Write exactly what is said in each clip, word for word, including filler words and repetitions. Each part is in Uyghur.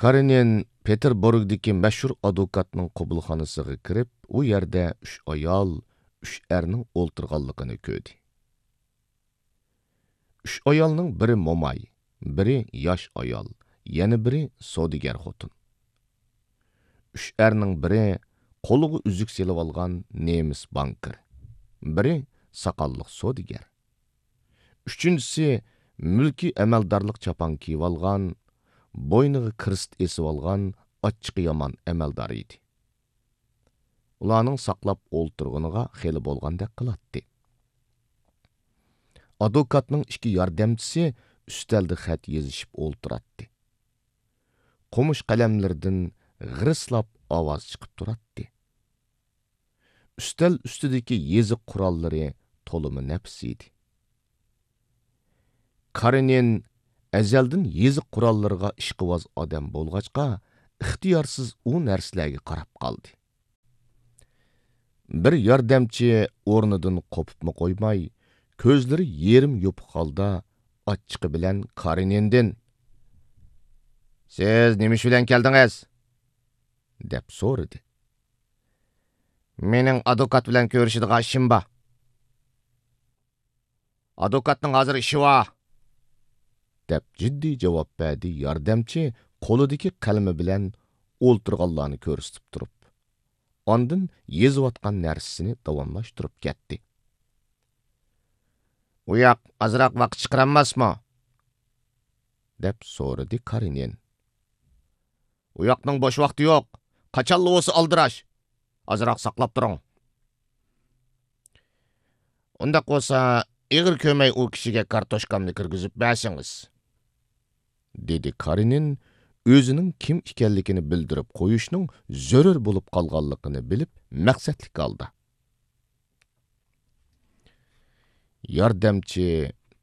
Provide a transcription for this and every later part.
كارېنىن پېتېربۇرگدىكى مەشھۇر ئادۋوكاتنىڭ قوبۇلخانىسىغا كىرىپ، ئۇ يەردە ئۈچ ئايال، ئۈچ ئەرنىڭ ئولتۇرغانلىقىنى كۆردى. ئۈچ ئايالنىڭ بىرى موماي، بىرى ياش ئايال، يەنە بىرى سودىگەر خوتۇن. ئۈچ ئەرنىڭ بىرى قولىغا ئۈزۈك سېلىۋالغان نېمىس بانكىر، بىرى ساقاللىق سودىگەر. ئۈچىنچىسى مۈلكىي ئەمەلدارلىق چاپان كىيىۋالغان، بوينىغا كىرېست ئېسىۋالغان ئاچچىقى يامان ئەمەلدار ئىدى. ئۇلارنىڭ ساقلاپ ئولتۇرغىنىغا خېلى بولغاندەك قىلاتتى. ئادۋوكاتنىڭ ئىككى ياردەمچىسى ئۈستەلدە خەت يېزىشىپ ئولتۇراتتى. قومۇش قەلەملىرىدىن غىرىسلاپ ئاۋاز چىقىپ تۇراتتى. ئۈستەل ئۈستىدىكى يېزىق قوراللىرى تولىمۇ نەپىس ئىدى. كارېنىن ئەزەلدىن يېزىق قوراللىرىغا ئىشقىۋاز ئادەم بولغاچقا، ئىختىيارسىز ئۇ نەرسىلەرگە قاراپ قالدى. بىر ياردەمچى ئورنىدىن قوپۇپمۇ قويماي، كۆزلىرى يېرىم يوپۇق ھالدا ئاچچىقى بىلەن كارېنىندىن: «سىز نېمە ئىش بىلەن كەلدىڭىز؟» دەپ سورىدى. «مېنىڭ ئادۋوكات بىلەن كۆرۈشىدىغان ئىشىم بار.» «ئادۋوكاتنىڭ ھازىر ئىشى بار.» دەپ جىددىي جاۋاب بەردى ياردەمچى قولىدىكى قەلىمى بىلەن ئولتۇرغانلارنى كۆرسىتىپ تۇرۇپ. ئاندىن يېزىۋاتقان نەرسىسىنى داۋاملاشتۇرۇپ كەتتى. «ئۇ ياق ئازراق ۋاقىت چىقىرالماسمۇ؟» دەپ سورىدى كارېنىن. «ئۇ ياقنىڭ بوش ۋاقتى يوق. قاچانلا بولسا ئالدىراش. ئازراق ساقلاپ تۇرۇڭ.» «ئۇنداق بولسا، ئېغىر كۆرمەي ئۇ كىشىگە كارتوچكامنى كىرگۈزۈپ بەرسىڭىز.» دېدى كارېنىن ئۆزىنىڭ كىم ئىكەنلىكىنى بىلدۈرۈپ قويۇشنىڭ زۆرۈر بولۇپ قالغانلىقىنى بىلىپ مەقسەتلىك ھالدا. ياردەمچى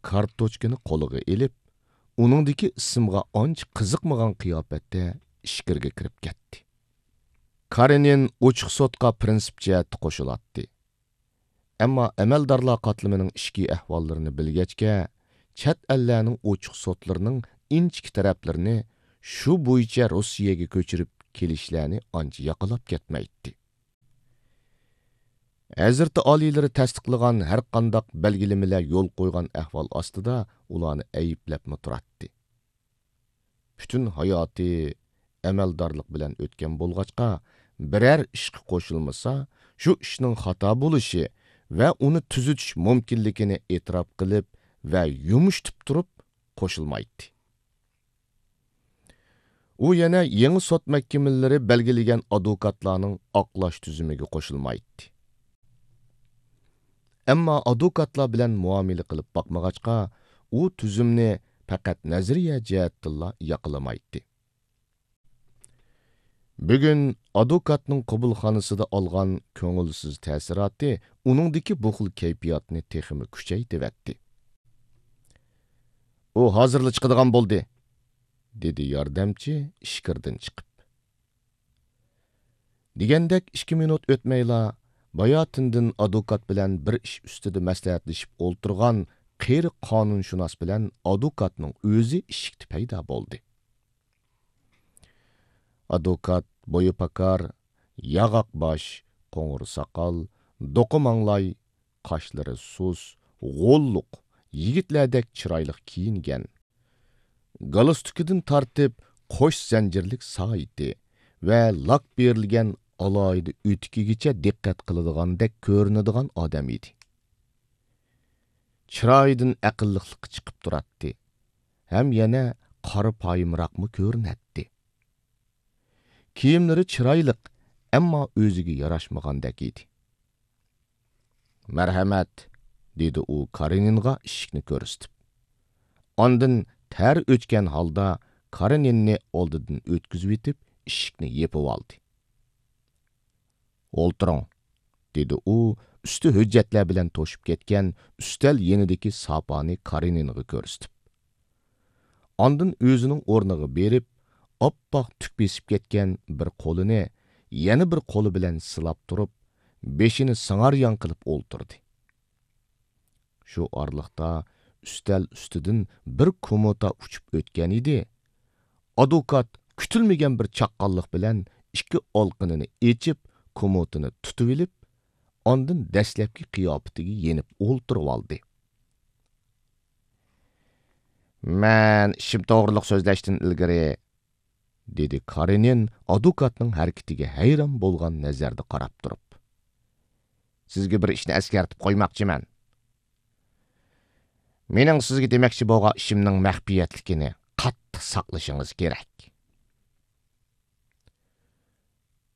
كارتوچكىنى قولىغا ئېلىپ، ئۇنىڭدىكى ئىسىمغا ئانچە قىزىقمىغان قىياپەتتە ئىچكىرىگە كىرىپ كەتتى. كارېنىن ئوچۇق سوتقا پىرىنسىپ جەھەتتە قوشۇلاتتى. ئەمما ئەمەلدارلار قاتلىمىنىڭ ئىچكى ئەھۋاللىرىنى بىلگەچكە، چەت ئەللەرنىڭ ئوچۇق سوتلىرىنىڭ ئىنچىكە تەرەپلىرىنى، شۇ بويىچە روسىيەگە كۆچۈرۈپ كېلىشلەرنى ئانچە ياقلاپ كەتمەيتتى. ھەزرىتى ئالىيلىرى تەستىقلىغان ھەرقانداق بەلگىلىمىلەر يول قويغان ئەھۋال ئاستىدا ئۇلارنى ئەيىبلەپمۇ تۇراتتى. پۈتۈن ھاياتى ئەمەلدارلىق بىلەن ئۆتكەن بولغاچقا، بىرەر ئىشقا قوشۇلمىسا، شۇ ئىشنىڭ خاتا بولۇشى ۋە ئۇنى تۈزىتىش مۇمكىنلىكىنى ئېتىراپ قىلىپ ۋە يۇمشىتىپ تۇرۇپ قوشۇلمايتتى. ئۇ يەنە يېڭى سوت مەھكىمىلىرى بەلگىلىگەن ئادۋوكاتلارنىڭ ئاقلاش تۈزۈمىگە قوشۇلمايتتى. ئەمما ئادۋوكاتلار بىلەن مۇئامىلە قىلىپ باقمىغاچقا، ئۇ تۈزۈمنى پەقەت نەزەرىيە جەھەتتىنلا ياقلىمايتتى. بۈگۈن ئادۋوكاتنىڭ قوبۇلخانىسىدا ئالغان كۆڭۈلسىز تەسىراتى ئۇنىڭدىكى بۇ خىل كەيپىياتنى تېخىمۇ كۈچەيتىۋەتتى. «ئۇ ھازىرلا چىقىدىغان بولدى.» دېدى ياردەمچى ئىچكىرىدىن چىقىپ. دېگەندەك ئىككى مىنۇت ئۆتمەيلا، باياتىندىن ئادۋوكات بىلەن بىر ئىش ئۈستىدە مەسلىھەتلىشىپ ئولتۇرغان قېرى قانۇنشۇناس بىلەن ئادۋوكاتنىڭ ئۆزى ئىشىكتە پەيدا بولدى. ئادۋوكات بويى پاكار، ياغاق باش، قوڭۇر ساقال، دوقا ماڭلاي، قاشلىرى سۇس، غوللۇق، يىگىتلەردەك چىرايلىق كىيىنگەن. گالستۇكىدىن تارتىپ قوش زەنجىرلىك سائىتى ۋە لاك بېرىلگەن ئالاھىدە ئۆتۈكىگىچە دىققەت قىلىدىغاندەك كۆرۈنىدىغان ئادەم ئىدى. چىرايىدىن ئەقىللىقلىقى چىقىپ تۇراتتى ھەم يەنە قارا پايىمراقمۇ كۆرۈنەتتى. كىيىملىرى چىرايلىق، ئەمما ئۆزىگە ياراشمىغاندەك ئىدى. «مەرھەمەت!» دېدى ئۇ كارېنىنغا ئىشىكنى كۆرسىتىپ. ئاندىن تەر ئۆچكەن ھالدا كارېنىننى ئالدىدىن ئۆتكۈزۈۋېتىپ، ئىشىكنى يېپىۋالدى. «ئولتۇرۇڭ!» دېدى ئۇ ئۈستى ھۆججەتلەر بىلەن توشۇپ كەتكەن ئۈستەل يېنىدىكى ساپانى كارېنىنغا كۆرسىتىپ. ئاندىن ئۆزىنىڭ ئورنىغا بېرىپ، ئاپئاق تۈك بېسىپ كەتكەن بىر قولىنى يەنە بىر قولى بىلەن سىلاپ تۇرۇپ، بېشىنى سىڭاريان قىلىپ ئولتۇردى. شۇ ئارىلىقتا ئۈستەل ئۈستىدىن بىر كوموتا ئۇچۇپ ئۆتكەن ئىدى. ئادۋوكات كۈتۈلمىگەن بىر چاققانلىق بىلەن ئىككى ئالقىنىنى ئېچىپ، كوموتىنى تۇتۇۋېلىپ، ئاندىن دەسلەپكى قىياپىتىگە يېنىپ ئولتۇرۇۋالدى. مەن ئىشىم توغرۇلۇق سۆزلەشتىن ئىلگىرى، دېدى كارېنىن ئادۋوكاتنىڭ ھەرىكىتىگە ھەيران بولغان نەزەردە قاراپ تۇرۇپ. سىزگە بىر ئىشنى ئەسكەرتىپ قويماقچىمەن. مېنىڭ سىزگە دېمەكچى بولغان ئىشىمنىڭ مەخپىيەتلىكىنى قاتتىق ساقلىشىڭىز كېرەك.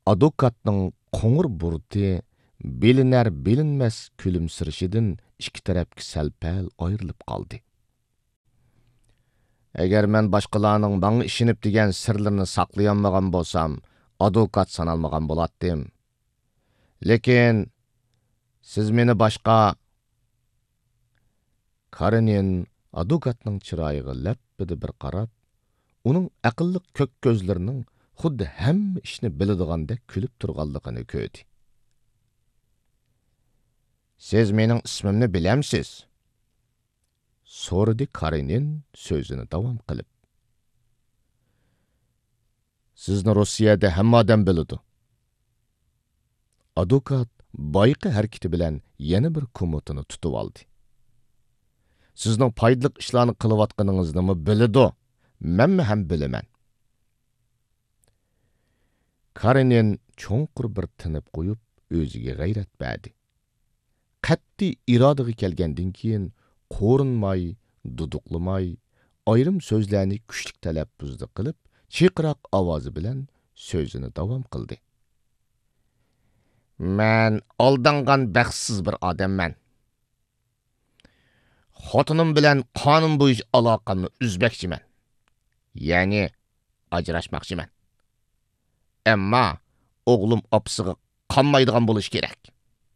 ئادۋوكاتنىڭ قوڭۇر بۇرۇتى بىلىنەر-بىلىنمەس كۈلۈمسىرىشىدىن ئىككى تەرەپكە سەل-پەل ئايرىلىپ قالدى. ئەگەر مەن باشقىلارنىڭ ماڭا ئىشىنىپ دېگەن سىرلىرىنى ساقلىيالمىغان بولسام، ئادۋوكات سانالمىغان بولاتتىم. لېكىن سىز مېنى باشقا. كارېنىن ئادۋوكاتنىڭ چىرايىغا لەپپىدە بىر قاراپ، ئۇنىڭ ئەقىللىق كۆك كۆزلىرىنىڭ خۇددى ھەممە ئىشنى بىلىدىغاندەك كۈلۈپ تۇرغانلىقىنى كۆردى. سىز مېنىڭ ئىسمىمنى بىلەمسىز؟ سورىدى كارېنىن سۆزىنى داۋام قىلىپ. سىزنى روسىيەدە ھەممە ئادەم بىلىدۇ. ئادۋوكات بايىقى ھەرىكىتى بىلەن يەنە بىر كوموتىنى تۇتۇۋالدى. سىزنىڭ پايدىلىق ئىشلارنى قىلىۋاتقىنىڭىزنىمۇ بىلىدۇ، مەنمۇ ھەم بىلىمەن. كارېنىن چوڭقۇر بىر تىنىپ قويۇپ، ئۆزىگە غەيرەت بەردى. قەتئىي ئىرادىگە كەلگەندىن كېيىن، قورۇنماي، دۇدۇقلىماي، ئايرىم سۆزلەرنى كۈچلۈك تەلەپپۇزدا قىلىپ، چىرقىراق ئاۋازى بىلەن سۆزىنى داۋام قىلدى. مەن ئالدانغان بەختسىز بىر ئادەممەن. خوتۇنۇم بىلەن قانۇن بويىچە ئالاقەمنى ئۈزمەكچىمەن. يەنى ئاجراشماقچىمەن. ئەمما ئوغلۇم ئاپىسىغا قانمايدىغان بولۇشى كېرەك.